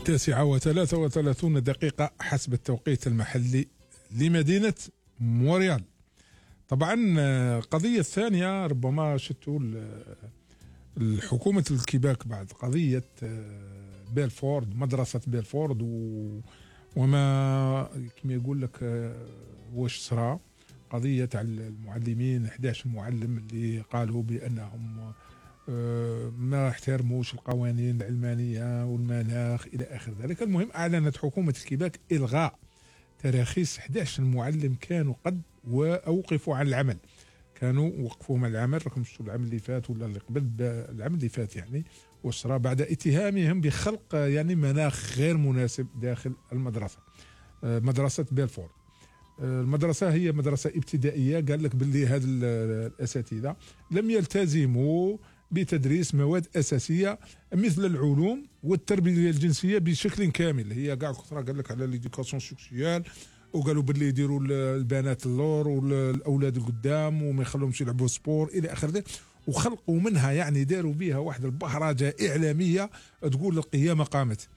9:33 حسب التوقيت المحلي لمدينة مونريال. طبعا القضية الثانية ربما شتوا الحكومة الكيباك بعد قضية بيلفورد، مدرسة بيلفورد وما كما يقول لك واش صرا قضية تاع المعلمين 11 معلم اللي قالوا بأنهم ما احترموش القوانين العلمانية والمناخ إلى آخر ذلك. المهم أعلنت حكومة الكيباك إلغاء تراخيص 11 معلم كانوا قد وأوقفوا عن العمل، كانوا وقفوهم عن العمل. راكم شفتوا العام اللي فات ولا اللي قبل العام اللي فات يعني وصرا بعد اتهامهم بخلق يعني مناخ غير مناسب داخل المدرسة، مدرسة بيلفورد. المدرسة هي مدرسة ابتدائية، قال لك باللي هاد الأساتذة لم يلتزموا بتدريس مواد أساسية مثل العلوم والتربية الجنسية بشكل كامل. هي قاع كثرة قال لك على ليديكاسيون سيكسيوال، وقالوا باللي يديروا البنات اللور والأولاد القدام وما يخلوهمش يلعبوا سبور إلى آخره، وخلقوا منها يعني داروا بها واحد البهرجة إعلامية تقول القيامة قامت.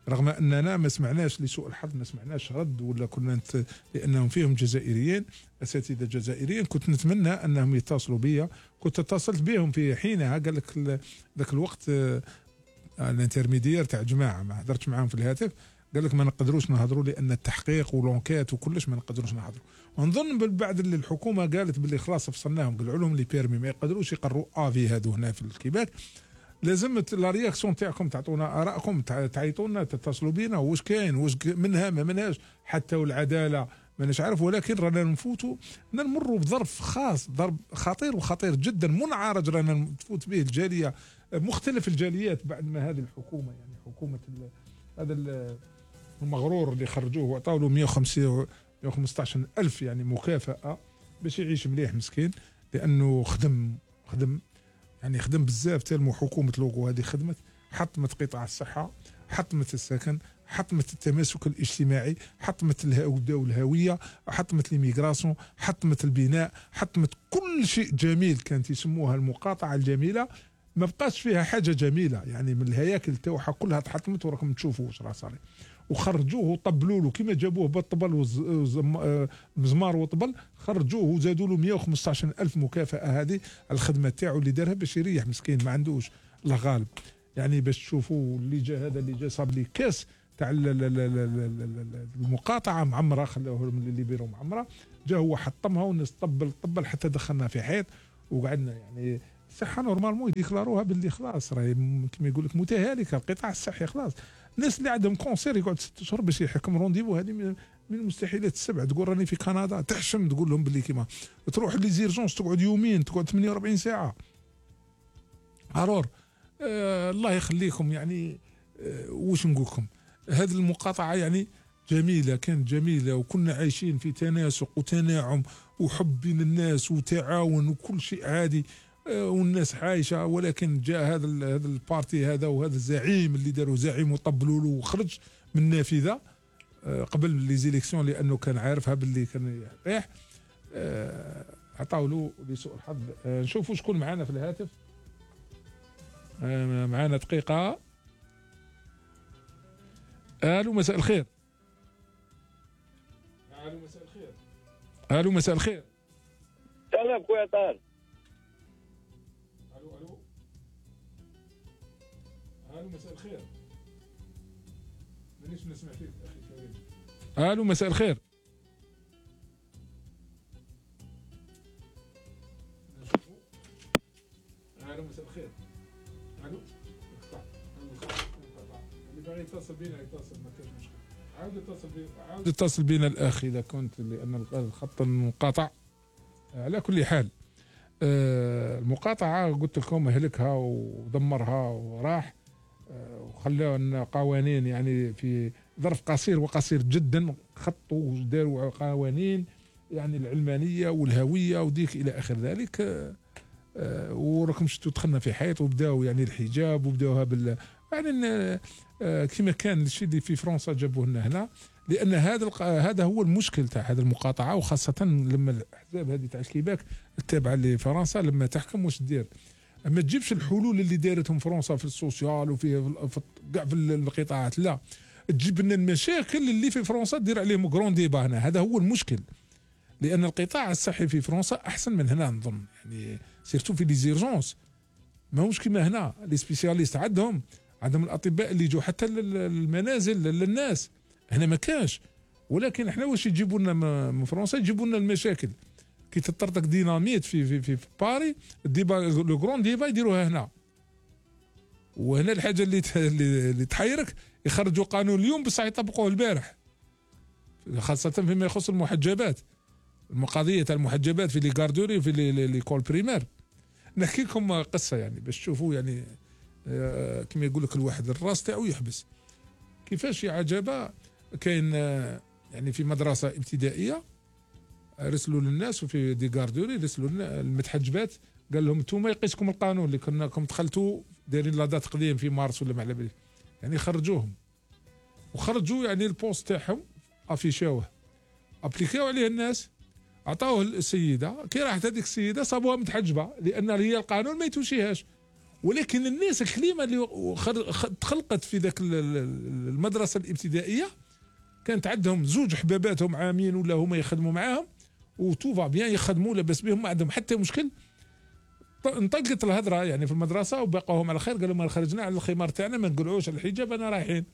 رغم أننا ما سمعناش لسوء الحظ ما سمعناش رد ولا كنا لأنهم فيهم جزائريين أساتذة جزائريين. كنت نتمنى أنهم يتصلوا بي، كنت اتصلت بهم في حينها. قال لك ذاك الوقت الانترميدير تاع جماعة ما هدرتش معاهم في الهاتف، قال لك ما نقدروش نهضروا لأن التحقيق ولونكات وكلش ما نقدروش نهضروا. ونظن بعد اللي الحكومة قالت باللي خلاص فصلناهم، قالوا لهم لي بيرمي ما يقدروش يقروا افي هادو هنا في الكيباك. لازم لا رياكسيون تاعكم تعطونا ارائكم، تعيطونا تتصلوا بينا واش كاين واش منها ما منهاش حتى والعداله ماناش عارف. ولكن رانا نفوتوا نمروا بظرف خاص، ضرب خطير وخطير جدا منعرج رانا تفوت به الجاليه مختلف الجاليات بعد ما هذه الحكومه يعني حكومه هذا المغرور اللي خرجوه وعطاوا له 115 ألف يعني مكافأة باش يعيش مليح مسكين، لأنه خدم يعني خدم بزاف. تالمو حكومة لوغو هذه خدمت، حطمت قطاع الصحة، حطمت السكن، حطمت التماسك الاجتماعي، حطمت الهوية، حطمت ليميغراسيون، حطمت البناء، حطمت كل شيء جميل كانت يسموها المقاطعة الجميلة. ما بقاش فيها حاجة جميلة يعني من الهياكل تاعها كلها تحطمت. وراكم تشوفوا واش راه صار، وخرجوه وطبلوا له كما جابوه بالطبل ومزمار وطبل، خرجوه وزادوا له 115 ألف مكافأة هذه الخدمة تاعو اللي دارها باش يريح مسكين ما عندوش الله غالب. يعني باش تشوفوا اللي جا هذا اللي جا صاب لي كاس تاع المقاطعة معمرة، خلاوه اللي بيرو معمرة، جا هو حطمها والناس طبل حتى دخلنا في حيط وقعدنا يعني الصحة نورمالمون يديكلاروها باللي خلاص راهي كما يقول لك متهالكة القطاع الصحي خلاص. الناس اللي عندهم كونسير يقعد 6 اشهر باش يحكم رونديفو، هذه من المستحيلات السبع. تقول راني في كندا تحشم تقول لهم باللي كيما تروح لي زيرجونس تقعد يومين تقعد 48 ساعة. الور الله يخليكم يعني واش نقول لكم، هذه المقاطعة يعني جميلة، كانت جميلة وكنا عايشين في تناسق وتناعم وحب بين الناس وتعاون وكل شيء عادي والناس عايشة. ولكن جاء هذا البارتي هذا وهذا الزعيم اللي داروا زعيم وطبلوا له وخرج من النافذة قبل لي زيليكسيون لأنه كان عارفها باللي كان يريح. عطاو له لسوء الحظ. نشوفوا شكون معنا في الهاتف. معنا دقيقة. الو مساء الخير. الو مساء الخير. الو مساء الخير. سلام خويا طارق. الو مساء الخير. مانيش نسمع فيك اخي كريم. الو مساء الخير. الو مساء الخير. الو اللي باغي يتصل بينا يتصل ما كاينش مشكل. عاود اتصل بينا الاخ اذا كنت، لان الخط منقطع. على كل حال المقاطعة قلت لكم اهلكها ودمرها وراح وخلاو لنا قوانين يعني في ظرف قصير وقصير جدا، خطوا وداروا قوانين يعني العلمانية والهوية وديك إلى آخر ذلك. وراكم شفتوا دخلنا في حيط وبداوا يعني الحجاب وبداوها يعني كما كان الشيء اللي في فرنسا جابوه لنا هنا، لأن هذا هو المشكل تاع هذه المقاطعة. وخاصة لما الأحزاب هذه تاع الكيباك التابعة لفرنسا لما تحكم واش دير ما تجيبش الحلول اللي دارتهم فرنسا في السوسيال وفي كاع في القطاعات، لا تجيب لنا المشاكل اللي في فرنسا دير عليهم كرون ديبا هنا. هذا هو المشكل، لان القطاع الصحي في فرنسا احسن من هنا نظن، يعني سيرتو في لي زيرجونس ماهوش كيما هنا. لي سبيسياليست عندهم الاطباء اللي يجوا حتى للمنازل للناس، هنا ما كاش. ولكن احنا واش يجيبوا لنا من فرنسا؟ يجيبوا لنا المشاكل كي تطرطق ديناميت في باري، الديبا لو كرون ديبا يديروها هنا. وهنا الحاجه اللي تحيرك، يخرجوا قانون اليوم بصح يطبقوه البارح، خاصه فيما يخص المحجبات، القضيه تاع المحجبات في لي غاردوري في لي كول بريمير. نحكي لكم قصه يعني باش تشوفوا يعني كما يقول لك الواحد الراس تاعو يحبس. كيفاش يا عجبه كاين يعني في مدرسه ابتدائيه رسلوا للناس، وفي دي غاردوري رسلوا المتحجبات، قال لهم انتم يقيسكم القانون اللي كناكم دخلتوا دايرين لا دات قديم في مارس ولا ما على بالي، يعني خرجوهم وخرجوا يعني البوست تاعهم افيشاوه، ابليكاو عليه الناس، عطاوه السيده. كي راحت هذيك السيده صابوها متحجبه لان هي القانون ما يتوشيهاش. ولكن الناس الكلمه اللي تخلقت في ذاك المدرسه الابتدائيه كانت عندهم زوج حباباتهم عامين ولا هما يخدموا معاهم وتوفا بيان يخدموا لاباس بهم، ما عندهم حتى مشكل. انطلقت الهضره يعني في المدرسه وبقاهم على خير، قالوا ما خرجنا على الخمار تاعنا، ما نقلعوش على الحجاب، انا رايحين.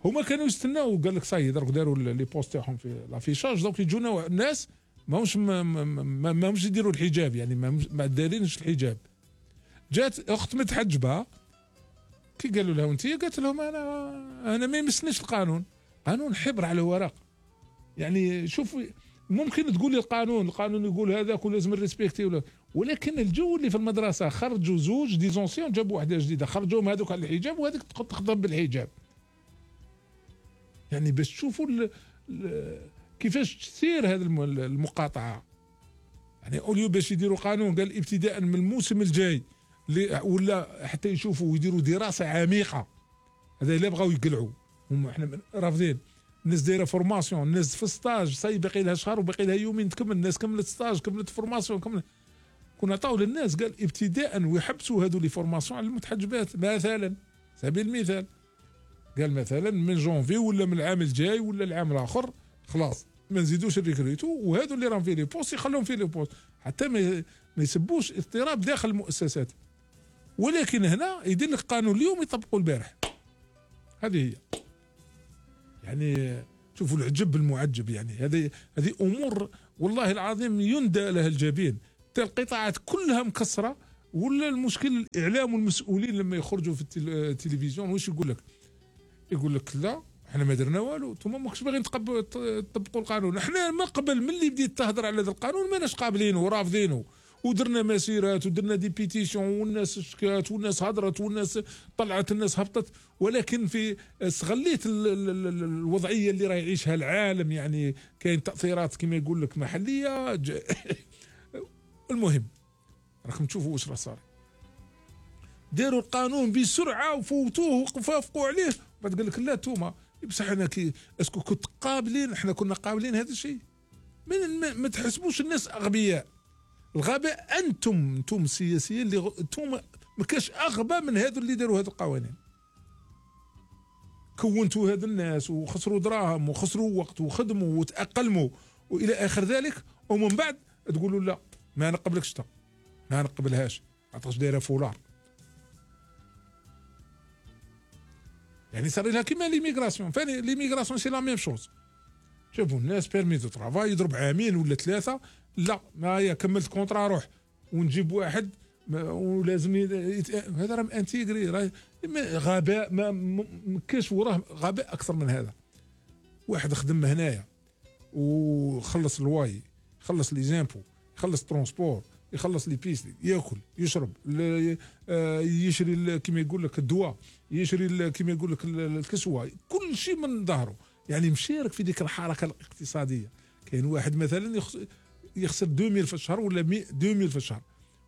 هما كانوا يستناو، قال لك صاي درك داروا لي بوست تاعهم في لافيشاج، دوك يجونا الناس ماهمش يديروا الحجاب، يعني ما دارينش الحجاب. جات اخت متحجبه كي قالوا لها انت، قالت لهم انا ما يمسنيش القانون، قانون حبر على ورق. يعني شوف ممكن تقول لي القانون يقول هذاك ولازم نريسبكتي ولكن الجو اللي في المدرسه خرجوا زوج ديزونسيون، جابوا واحده جديده خرجوهم هذوك على الحجاب وهذيك تخدم بالحجاب. يعني باش تشوفوا كيفاش تسير هذه المقاطعه. يعني اوليو باش يديروا قانون قال ابتداء من الموسم الجاي ولا حتى يشوفوا ويديروا دراسه عميقه، هذا الا بغاو يقلعوا هم احنا رافضين. الناس دايره فورماسيون، الناس في ستاج صاي باقي لها شهر وباقي لها يومين تكمل، الناس كملت ستاج كملت فورماسيون كنا عطاو للناس قال ابتداء ويحبسوا هذو لي فورماسيون على المتحجبات مثلا، سبيل المثال قال مثلا من جونفي ولا من العام الجاي ولا العام الاخر خلاص ما نزيدوش الريكروتو، وهذو اللي راهم في لي بوست يخلوهم في لي بوست حتى ما يسبوش اضطراب داخل المؤسسات. ولكن هنا يدير لك قانون اليوم يطبقوا البارح. هذه هي يعني شوفوا العجب المعجب. يعني هذه امور والله العظيم يندى لها الجبين. القطاعات كلها مكسره. ولا المشكل الاعلام والمسؤولين لما يخرجوا في التلفزيون واش يقول لك؟ يقول لك لا احنا ما درنا والو، انتم ماكش باغيين تطبقوا القانون. احنا من قبل من اللي بديت تهضر على هذا القانون ماناش قابلينه ورافضينه، ودرنا مسيرات ودرنا دي بيتيسيون والناس شكات والناس هضرت والناس طلعت الناس هبطت. ولكن في استغليت الوضعيه اللي راه يعيشها العالم، يعني كاين تاثيرات كما يقول لك محليه المهم راكم تشوفوا واش راه صار. داروا القانون بسرعه وفوتوه وفافقوا عليه، بعد قال لك لا توما بصح انا اسكو كنت قابلين، احنا كنا قابلين هذا الشيء. ما تحسبوش الناس اغبياء. الغباء انتم السياسيين اللي انتم ما كاش اغبى من هذو اللي داروا هذو القوانين. كونتوا هذا الناس وخسروا دراهم وخسروا وقت وخدموا وتاقلموا والى اخر ذلك، ومن بعد تقولوا لا ما نقبلكش شتا ما نقبلهاش عطاش دايره فولار. يعني صار لها كيما ليميغراسيون. فاني ليميغراسيون سي لا ميم شوز. شوفوا الناس بيرمي دو ترافاي يضرب عامين ولا ثلاثه، لا ما هي كملت كونترا روح ونجيب واحد ولازم هذا راه انتيغري. راه غباء ما كاش وراه غباء اكثر من هذا. واحد خدم هنايا وخلص الواي، خلص لي زامبو، يخلص ترونسبور، يخلص لي بيسلي، ياكل يشرب، يشري كما يقول لك الدواء، يشري كما يقول لك الكسوه، كل شيء من ظهره. يعني مشارك في ديك الحركه الاقتصاديه. كاين واحد مثلا يخسر 2000 في الشهر ولا 2000 في الشهر،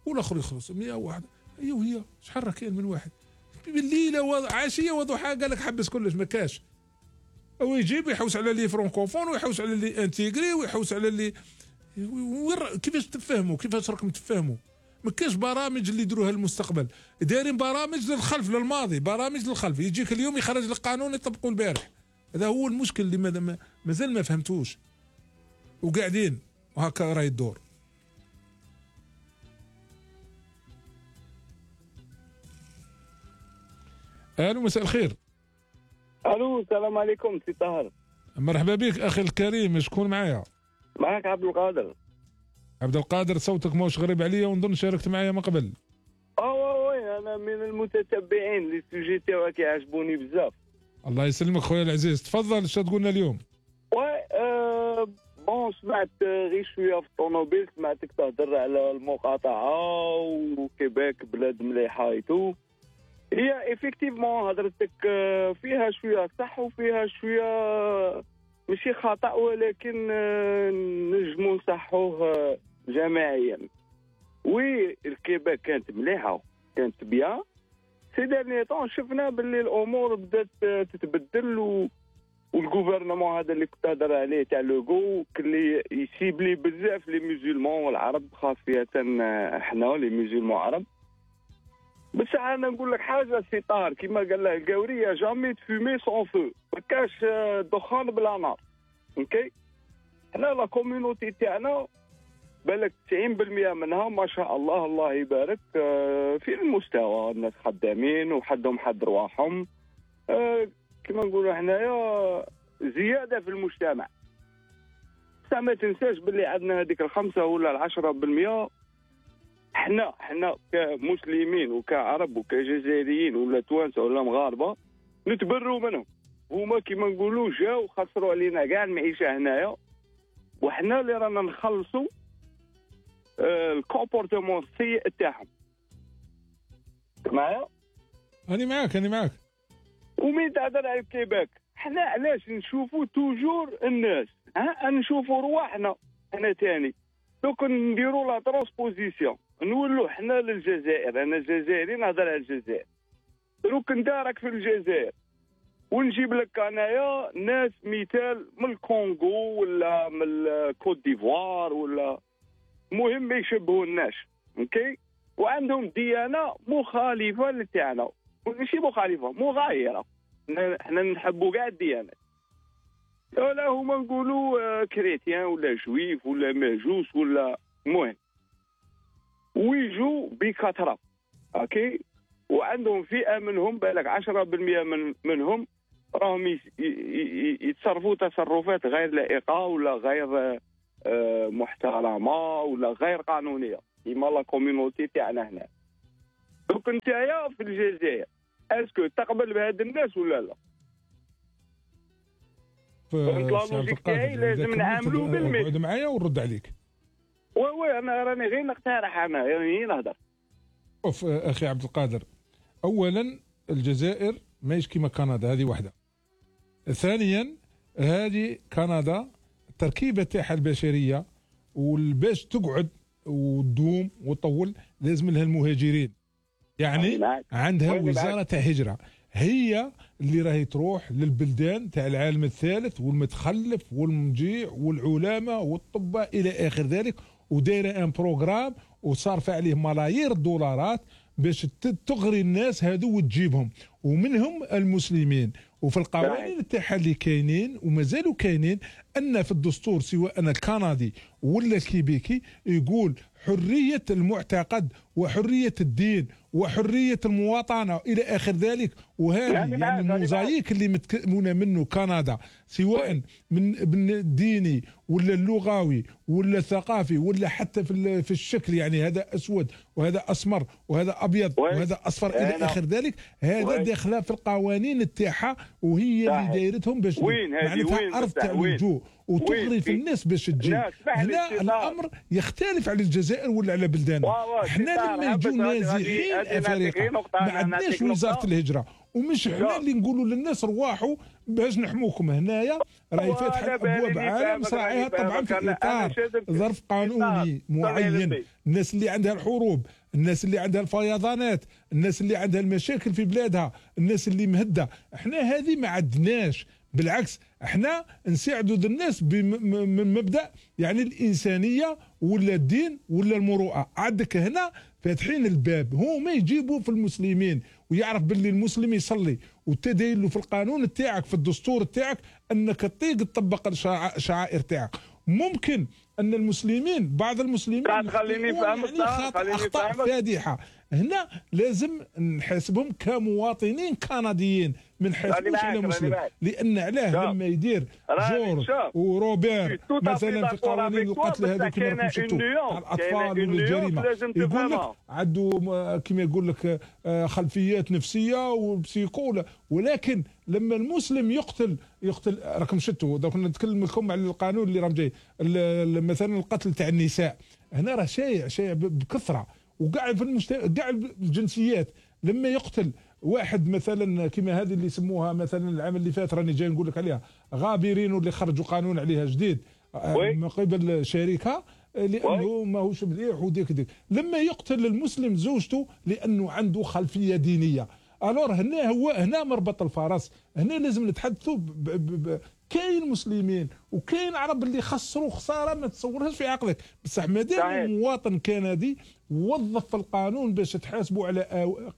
والاخر يخلص 101. ايوا هي شحال راه كاين من واحد بالليله عشيه وضحى قال لك حبس كلش ما كاش. او يجيب يحوس على لي فرونكوفون ويحوس على لي انتيغري ويحوس على لي كيفاش تفهموا، كيفاش راكم تفهموا. ما كاش برامج اللي يديروها للمستقبل، دايرين برامج للخلف للماضي، برامج للخلف. يجيك اليوم يخرج لك قانون يطبقوا البارح. هذا هو المشكل اللي مازال ما فهمتوش، وقاعدين وهكا راهي الدور. الو مساء الخير. الو السلام عليكم سي طاهر. مرحبا بك اخي الكريم، شكون معايا؟ معك عبد القادر. عبد القادر، صوتك موش غريب عليا ونظن شاركت معايا من قبل. وي انا من المتتبعين، لي سوجي تاعك يعجبوني بزاف. الله يسلمك خويا العزيز، تفضل اش تقولنا اليوم؟ بون سمعت غير شويه في الطوموبيل، سمعتك تهضر على المقاطعه وكيباك بلاد مليحه ايتو. هي افكتيفمون هضرتك فيها شويه صح وفيها شويه ماشي خطا، ولكن نجمو نصحوه جماعيا. وي الكيباك كانت مليحه، كانت بيان. سي ديرني طون شفنا باللي الامور بدات تتبدل، والغوفرنمون هذا اللي كنت هضر عليه تاع لوغو اللي يسيبلي بزاف لي ميزولمون والعرب، خاصيه احنا لي ميزولمون عرب. بس انا نقول لك حاجه سي طاهر، كيما قال له القاوريه جامي تفومي سون فو، ما كاش دخان بلا نار. اوكي، حنا لا كوميونيتي تاعنا بالك 90% منها ما شاء الله الله يبارك في المستوى، الناس خدامين وحدهم حد رواحهم، كما نقولوا حنايا زياده في المجتمع. بس ما تنساش باللي عندنا هذيك ال5 ولا ال10%، حنا كمسلمين وكعرب وكجزائريين ولا توانسه ولا مغاربه نتبروا منهم. هما كيما نقولوا جاو خسروا علينا كاع المعيشه هنايا، وحنا اللي رانا نخلصوا الكومبورتمون السيء تاعهم. معايا؟ أنا معاك. ومين تهضر على الكيباك؟ حنا علاش نشوفوا توجور الناس؟ نشوفوا رواحنا حنا تاني. دوك نديروا لا ترانسبوزيسيون، نولوا حنا للجزائر. انا جزائري نهضر على الجزائر، دوك ندارك في الجزائر ونجيب لك انايا ناس مثال من الكونغو ولا من الكوت ديفوار ولا مهم ما يشبهوناش. اوكي، وعندهم ديانه مخالفه لتاعنا، ماشي مخالفه مغايره. حنا نحبوا كاع الديانات، ولا هما نقولوا كريتيان ولا جويف ولا ماجوس ولا مهم، ويجوا بكثره. اوكي، وعندهم فئه منهم بالك 10% منهم راهم يتصرفوا تصرفات غير لائقه ولا غير محترمه ولا غير قانونيه، كيما لا كوميونيتي تاعنا هنا. دوك نتايا في الجزائر اسكو تقبل بهاد الناس ولا لا؟ اللوجيك تاعي لازم نعاملوا بالمثل. اقعد معايا ونرد عليك. وي انا راني غير نقترح، انا يعني نهضر. شوف اخي عبد القادر، اولا الجزائر ماهيش كيما كندا، هذه واحده. ثانيا هذه كندا التركيبه تاعها البشريه، والباش تقعد وتدوم وتطول لازم لها المهاجرين. يعني عندها وزاره تاع هجره، هي اللي راهي تروح للبلدان تاع العالم الثالث والمتخلف والمجيع والعلماء والطباء الى اخر ذلك، ودايره ان بروغرام وصارفه عليه ملايير الدولارات باش تغري الناس هذو وتجيبهم، ومنهم المسلمين. وفي القوانين تاعها اللي كاينين ومازالوا كاينين ان في الدستور سواء الكندي ولا الكيبيكي يقول حريه المعتقد وحريه الدين وحريه المواطنه الى اخر ذلك. وهذه يعني الموزايك اللي متكونه منه كندا، سواء من الديني ولا اللغوي ولا الثقافي ولا حتى في الشكل، يعني هذا اسود وهذا اسمر وهذا ابيض وهذا اصفر الى اخر ذلك، هذا داخله في القوانين تاعها، وهي اللي دايرتهم باش معناتها ارض تاع اللجوء وتغري في الناس باش تجي. هنا الامر يختلف على الجزائر ولا على بلداننا. احنا لما يجوا نازحين افارقه ما عندناش وزاره الهجره، ومش احنا اللي نقولوا للناس رواحوا باش نحموكم. هنايا راهي فاتحه ابواب عالم صراعيها طبعا في اطار ظرف قانوني معين. الناس اللي عندها الحروب، الناس اللي عندها الفيضانات، الناس اللي عندها المشاكل في بلادها، الناس اللي مهده، احنا هذه ما بالعكس احنا نساعدوا الناس من مبدا يعني الانسانيه ولا الدين ولا المروءه. عندك هنا فاتحين الباب، هما يجيبوا في المسلمين ويعرف باللي المسلم يصلي وتدين له في القانون تاعك في الدستور تاعك انك تطيق تطبق الشعائر تاعك. ممكن ان المسلمين بعض المسلمين خليني نفهمك اخطاء فادحه، هنا لازم نحاسبهم كمواطنين كنديين، ما نحاسبوش على مسلم، لان علاه لما يدير جورج وروبير مثلا في قوانين القتل هذو كما راكم شفتوا تاع الاطفال والجريمه، يقول لك عنده كما يقول لك خلفيات نفسيه وبسيكو، ولكن لما المسلم يقتل راكم شفتوا كنا نتكلم لكم على القانون اللي راه جاي مثلا القتل تاع النساء، هنا راه شائع بكثره، وكاع في المجتمع كاع الجنسيات لما يقتل واحد مثلا كما هذه اللي يسموها مثلا العام اللي فات راني جاي نقول لك عليها غابرين، واللي خرجوا قانون عليها جديد من قبل شركه لانه ماهوش مليح وديك لما يقتل المسلم زوجته لانه عنده خلفيه دينيه، الور هنا مربط الفرس، هنا لازم نتحدثوا كاين مسلمين وكاين عرب اللي خسروا خساره ما تصورهاش في عقلك، بصح مادام مواطن كندي وظف القانون باش تحاسبوا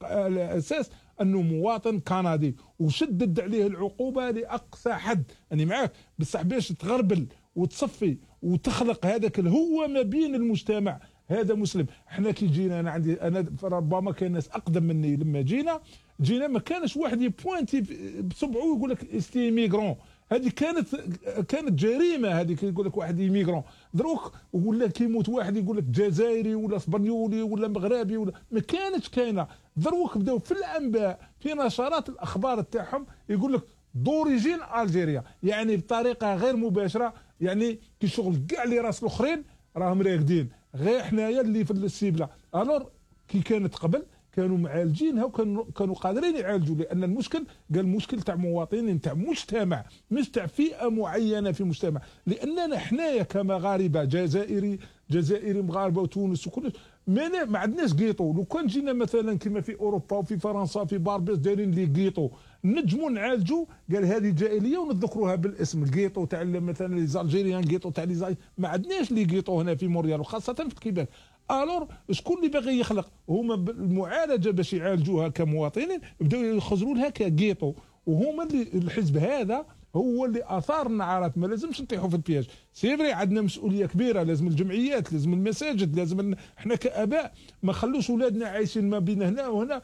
على اساس انه مواطن كندي وشدد عليه العقوبه لاقصى حد، اني معاك، بصح باش تغربل وتصفي وتخلق هذاك الهوه ما بين المجتمع هذا مسلم. احنا كي جينا انا ربما كان ناس اقدم مني لما جينا ما كانش واحد يبوانتي بصبعه ويقول لك استي ميغرون، هذه كانت جريمه، هذه يقول لك واحد ايميغرون، دروك ولا كيموت واحد يقول لك جزائري ولا اسبانيولي ولا مغربي ولا ما كانتش كاينه، دروك بداو في الانباء في نشرات الاخبار تاعهم يقول لك دوريجين الجيريا، يعني بطريقه غير مباشره، يعني كي شغل كاع اللي راس الاخرين راهم راقدين غير حنايا اللي في السيبله. الور كي كانت قبل كانوا معالجينها وكانوا قادرين يعالجوا، لان المشكل قال مشكل تاع مواطنين تاع مجتمع مش تاع فئه معينه في المجتمع، لاننا حنايا كمغاربه جزائري مغاربه وتونس وكل ما عندناش قيطو. لو كان جينا مثلا كما في اوروبا وفي فرنسا في باربيس دايرين لي قيطو نجموا نعالجوا، قال هذه جاهليه ونذكروها بالاسم، القيطو تاع مثلا لي زالجيريان، قيطو تاع لي ما عندناش لي قيطو هنا في موريال وخاصه في كيباك. الور شكون اللي باغي يخلق؟ هما المعالجه باش يعالجوها كمواطنين بداو يخزروا لها كقيطو، وهما اللي الحزب هذا هو اللي اثار النعرات. ما لازمش نطيحوا في البياج، سيفري عندنا مسؤوليه كبيره، لازم الجمعيات، لازم المساجد، لازم احنا كاباء ما خلوش اولادنا عايشين ما بين هنا وهنا،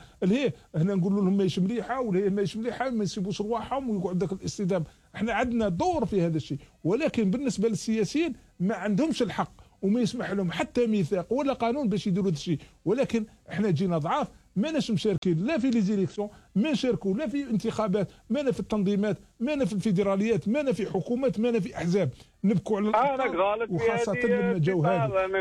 هنا نقولوا لهم ماهيش مليحه ولا ماهيش مليحه، ما يسيبوش رواحهم ويقعد ذاك الاصطدام. احنا عندنا دور في هذا الشيء، ولكن بالنسبه للسياسيين ما عندهمش الحق وما يسمح لهم حتى ميثاق ولا قانون باش يديروا هذا الشيء، ولكن احنا جينا ضعاف، ماناش مشاركين لا في لي زيليكسيون، ما نشاركوا لا في انتخابات، مانا في التنظيمات، مانا في الفيدراليات، مانا في حكومات، مانا في احزاب، نبكوا على الأخطاء. وخاصه لما جاو هذه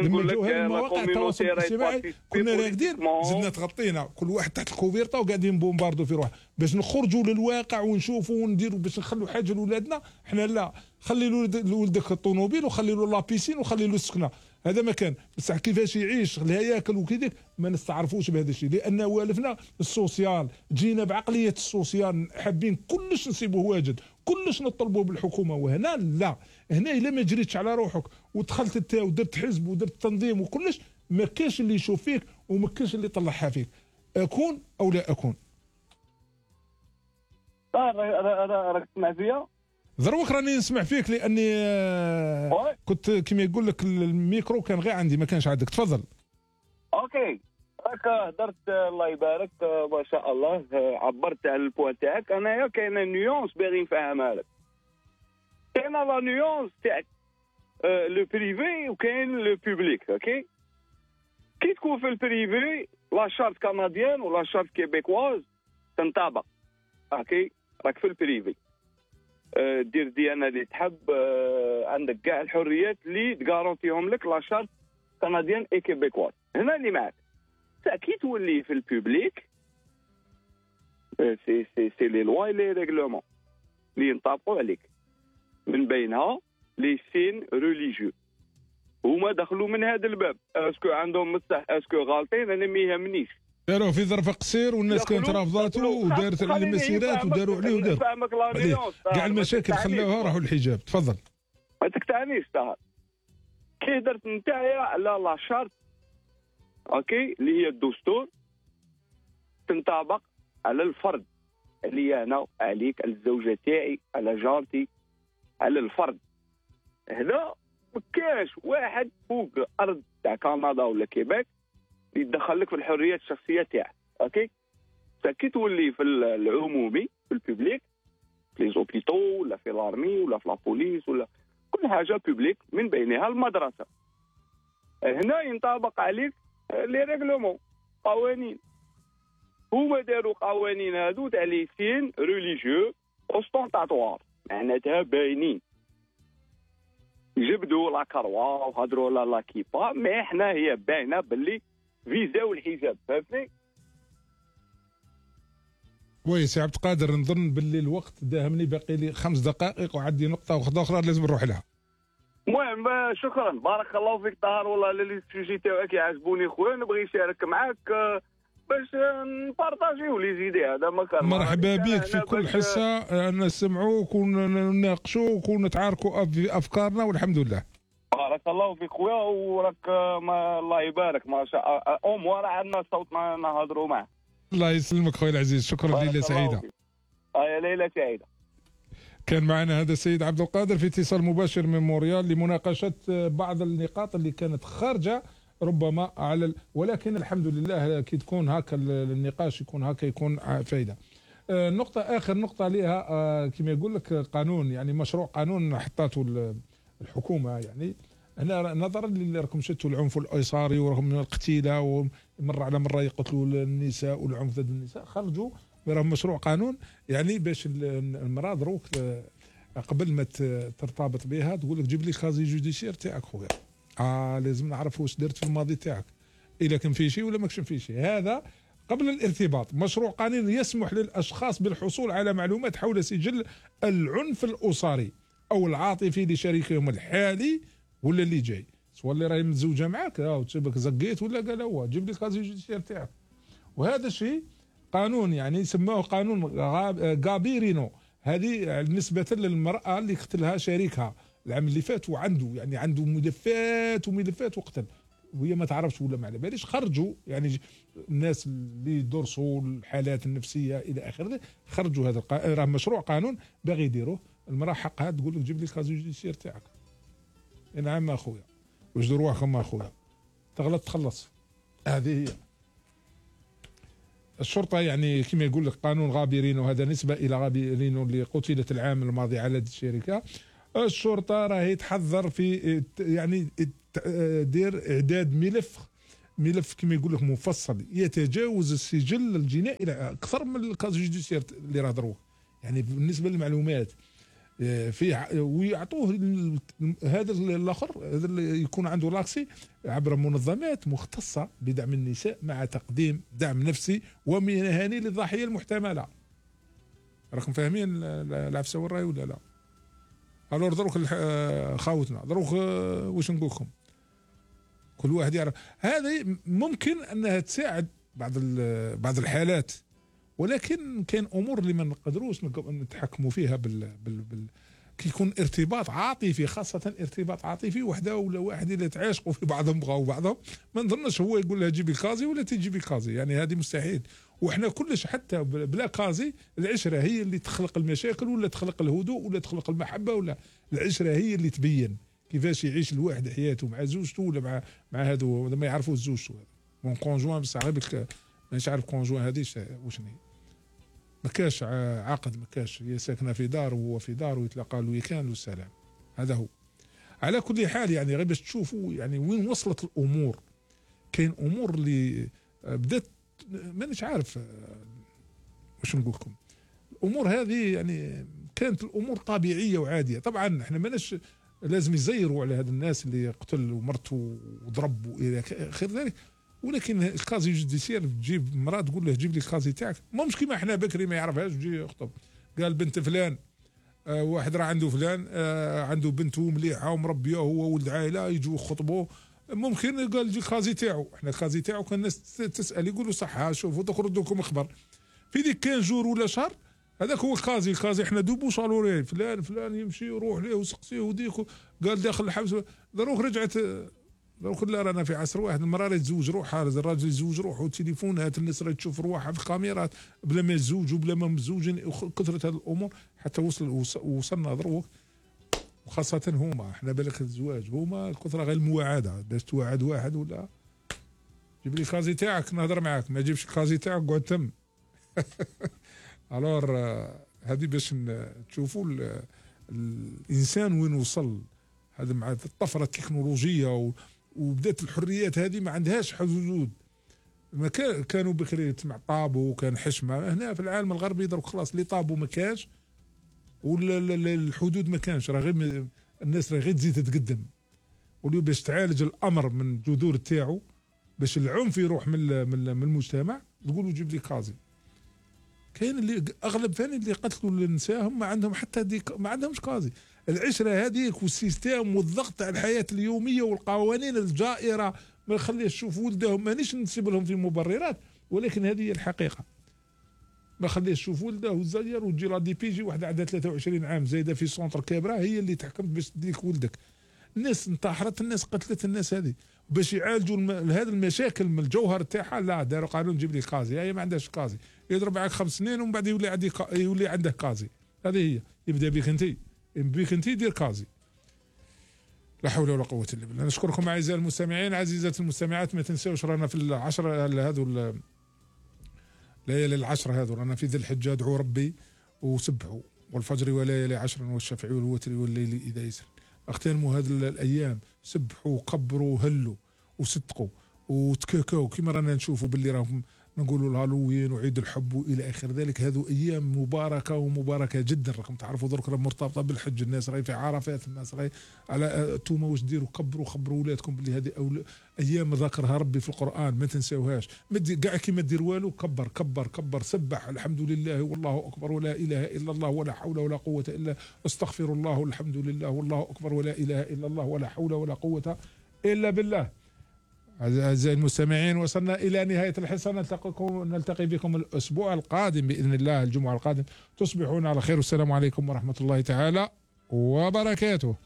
مواقع التواصل الاجتماعي كنا راقدين زدنا تغطينا كل واحد تحت الكوفيرتا وقاعدين بومباردو في روح باش نخرجوا للواقع ونشوفوا ونديروا باش نخلوا حاجه لاولادنا. احنا لا، خلي لولدك الطوموبيل وخلي له لابيسين وخلي له السكنه، هذا ما كان، بصح كيفاش يعيش الهياكل وكذا ما نستعرفوش بهذا الشيء، لان والفنا السوسيال، جينا بعقليه السوسيال حابين كلش نسيبوه واجد، كلش نطلبوه بالحكومه، وهنا لا، هنا الا ما جريتش على روحك ودخلت انت ودرت حزب ودرت تنظيم وكلش ما كاش اللي يشوف فيك وما كاش اللي يطلعها فيك، اكون او لا اكون. راك تسمع فيا؟ ضروك راني نسمع فيك، لاني كنت كما يقول لك الميكرو كان غير عندي ما كانش عندك، تفضل. اوكي، راك هدرت الله يبارك ما شاء الله، عبرت على البوان تاعك. انايا كاينه نيونس باغي نفهمها لك، كاينه لا نيونس تاع لو بريفي وكاين لو بوبليك. اوكي، كي تكون في البريفي لا شارت كنديان ولا شارت كيبيكواز تنطبق. اوكي، راك في البريفي دير ديانه اللي تحب، عندك كاع الحريات اللي تغارونتيهم لك لا شارت كنديان اي كيبيكواز. هنا اللي معك كي تولي في البوبليك سي لي لوا لي ريغلومون اللي ينطبقوا عليك، من بينها لي سين ريليجيو، هما دخلوا من هذا الباب. اسكو عندهم مصح اسكو غالطين انا ما يهمنيش، داروه في ظرف قصير والناس كانت رافضاته ودارت المسيرات وداروا عليه وداروا فاهمك لا نيونس كاع المشاكل خلاوها راحوا للحجاب. تفضل. ما تقطعنيش طاهر. كي درت نتايا على لا شارت اوكي اللي هي الدستور تنطبق على الفرد، عليا انا، عليك، على الزوجه تاعي، على جارتي، على الفرد. هنا ما كاش واحد فوق الارض تاع كندا ولا كيباك اللي يدخل لك في الحريات الشخصيه تاعك. اوكي كي تولي في العمومي في البوبليك في لي زوبيتو ولا في لارمي ولا في لابوليس ولا كل حاجه بوبليك من بينها المدرسه، هنا ينطبق عليك لي ريغلومون قوانين. هما داروا قوانين هادو تاع لي سين ريليجيو اوستونتاتوار معناتها باينين، جبدوا لا كروا وهضروا لا كيبا، مي احنا هي باينه باللي فيزاو الحجاب. فهمتني؟ وي سي عبد القادر، نظن باللي الوقت داهمني، باقي لي 5 دقائق وعندي نقطه واحده اخرى لازم نروح لها. المهم شكرا بارك الله فيك طاهر، والله لي سوجي تاعك يعجبوني خويا، نبغي نشارك معاك باش نبارطاجيو لي زيدي. هذا ما كان مرحبا بك في كل حصه، نسمعوك ونناقشوك ونتعاركوا في افكارنا والحمد لله. بارك الله فيك خويا، وراك الله يبارك ما شاء الله راه عندنا صوت نهضروا معاه. الله يسلمك خويا العزيز، شكرا. ليله سعيده. ليله سعيده. كان معنا هذا السيد عبد القادر في اتصال مباشر من مونريال لمناقشه بعض النقاط اللي كانت خارجه ربما على ولكن الحمد لله كي تكون هكا النقاش يكون هكا يكون فايده. نقطه اخر نقطه ليها كما يقول لك قانون، يعني مشروع قانون حطاته الحكومه، يعني هنا نظرا اللي راكم شفتوا العنف الاسري ورغم القتيله ومره على مره يقتلوا النساء والعنف ضد النساء، خرجوا راهم مشروع قانون يعني باش المراه دروك قبل ما ترتبط بها تقول لك جيب لي كازي جوديسيير تاعك خويا. لازم نعرف واش درت في الماضي تاعك، الا كان في شيء ولا ماكش في شيء. هذا قبل الارتباط. مشروع قانون يسمح للاشخاص بالحصول على معلومات حول سجل العنف الاسري او العاطفي لشريكهم الحالي ولا اللي جاي، سواء اللي راهي متزوجه معك وتسبك زقيت ولا قال هو جيب لي كازي جوديسيير تاعك. وهذا الشيء قانون يعني سموه قانون غابيرينو، هذه نسبة للمرأة اللي قتلها شريكها العام اللي فات، وعنده يعني عنده ملفات وملفات وقتل وهي ما تعرفش ولا ما على باليش. خرجوا يعني الناس اللي يدرسوا الحالات النفسية إلى آخره، خرجوا هذا راه مشروع قانون باغي يديروه. المرأة حقها تقول لك جيب لي كازو جوديسيير تاعك. نعم أخويا، وجدوا رواحكم أخويا، تغلط تخلص. هذه هي الشرطة. يعني كما يقول لك قانون غابرينو، هذا نسبة إلى غابرينو اللي قتلت العام الماضي على يد الشركة. الشرطة راهي تحذر في يعني دير إعداد ملف كما يقول لك مفصل يتجاوز السجل الجنائي إلى أكثر من الكاز جوديسيير اللي راه دروه، يعني بالنسبة للمعلومات في ويعطوه هذا الاخر، هذا اللي يكون عنده لاكسي عبر منظمات مختصه بدعم النساء مع تقديم دعم نفسي ومهني للضحيه المحتمله. راكم فاهمين العفسه والراي ولا لا؟ الور دروك خاوتنا دروك واش نقول لكم، كل واحد يعرف. هذه ممكن انها تساعد بعض الحالات، ولكن كاين امور اللي ما نقدروش نتحكموا فيها كي يكون ارتباط عاطفي، خاصه ارتباط عاطفي وحده ولا واحد اللي تعاشقوا في بعضهم بغاو بعضهم، ما نظنش هو يقول لها جيبي كازي ولا تجيبي كازي، يعني هذه مستحيل. وحنا كلش حتى بلا كازي العشره هي اللي تخلق المشاكل ولا تخلق الهدوء ولا تخلق المحبه، ولا العشره هي اللي تبين كيفاش يعيش الواحد حياته مع زوجته ولا مع هذو ما يعرفوا زوجته مون كونجوان، بصح غير مانيش عارف كونجوان هذه وشنو هي. ما كاش عقد، ما كاش، هي ساكنه في دار وهو في دار ويتلاقى الويكاند والسلام. هذا هو. على كل حال يعني غير باش تشوفوا يعني وين وصلت الامور. كاين امور اللي بدات مانيش عارف واش نقول لكم. الامور هذه يعني كانت الامور طبيعيه وعاديه. طبعا احنا ماناش لازم يزيروا على هاد الناس اللي قتل ومرته وضرب والى اخر ذلك، ولكن الكازي جوديسيير تجيب مراه تقول له جيب لي الكازي تاعك، مش كيما احنا بكري ما يعرفهاش ويجي يخطب. قال بنت فلان واحد راه عنده فلان عنده بنته مليحه ومربيه هو ولد عائله، يجوا يخطبوا ممكن قال يجي الخازي تاعو، احنا الخازي تاعو كان الناس تسال يقولوا صح شوفوا تخرجوا لكم اخبار في ديك 15 جور ولا شهر. هذاك هو الخازي احنا دوبو صالوري فلان يمشي يروح ليه وسقسيه وديك قال داخل الحبس. دروك رجعت دروك لا رانا في عصر واحد، المراه راه تزوج روحها، الراجل يزوج روحه، والتليفونات الناس راه تشوف روحها في الكاميرات بلا ما يتزوجوا بلا ما متزوجين. كثرت هذه الامور حتى وصلنا دروك، وخاصة هما احنا بالك الزواج هما الكثرة غير المواعدة، باش توعد واحد ولا جيب لي الخازي تاعك نهضر معاك، ما جيبش الخازي تاعك قعد تم. الور هذه باش تشوفوا الانسان وين وصل. هذا مع الطفره التكنولوجيه وبدات الحريات هذه ما عندهاش حدود. ما كانوا بكري مع طابو وكان حشمه، هنا في العالم الغربي درك خلاص اللي طابو ما كانش ولا الحدود ما كانش، راه غير الناس راه غير تزيد تتقدم. واليوم باش تعالج الامر من الجذور تاعو، باش العنف يروح من المجتمع، تقولوا جيب لي كازي. كاين اللي اغلب ثاني اللي قتلوا النساء هم ما عندهم حتى ما عندهمش كازي. العشره هذيك والسيستم والضغط على الحياه اليوميه والقوانين الجائره ما يخليش يشوف ولدهم. مانيش نسيب لهم في مبررات، ولكن هذه هي الحقيقه. ما خليش يشوف ولده والزير وتجي لا دي بي جي واحده عندها 23 عام زايده في سونتر كابرا هي اللي تحكمت باش تديك ولدك. الناس انتحرت، الناس قتلت الناس هذه باش يعالجوا هذه المشاكل من الجوهر تاعها. لا داروا قانون جيب لي كازي، هي ما عندهاش كازي، يضرب معك 5 سنين ومن بعد يولي عنده كازي. هذه هي يبدا بك انت دير كازي. لا حول ولا قوه الا بالله. نشكركم اعزائي المستمعين، عزيزات المستمعات، ما تنساوش رانا في العشرة هذو ليالي العشر هذو، رانا في ذي الحجة. ادعوا ربي وسبحوا، والفجر وليالي عشر والشفع والوتر والليل اذا يسر. اغتنموا هذه الايام، سبحوا وقبروا وهلوا وصدقوا وتكاكاو كما رانا نشوفوا باللي راهم نقولوا الهالوين وعيد الحب والى اخر ذلك. هذو ايام مباركه ومباركه جدا. راكم تعرفوا درك راه مرتبطه بالحج، الناس راهي في عرفات، الناس راهي على توما واش ديروا خبروا ولادكم باللي هذه ايام ذكرها ربي في القران ما تنساوهاش. كاع كي ما دير والو كبر كبر كبر، سبح الحمد لله والله اكبر ولا اله الا الله ولا حول ولا قوه الا، استغفر الله والحمد لله والله اكبر ولا اله الا الله ولا حول ولا قوه الا بالله. أعزائي المستمعين، وصلنا إلى نهاية الحصة. نلتقي بكم الأسبوع القادم بإذن الله، الجمعة القادم. تصبحون على خير، والسلام عليكم ورحمة الله تعالى وبركاته.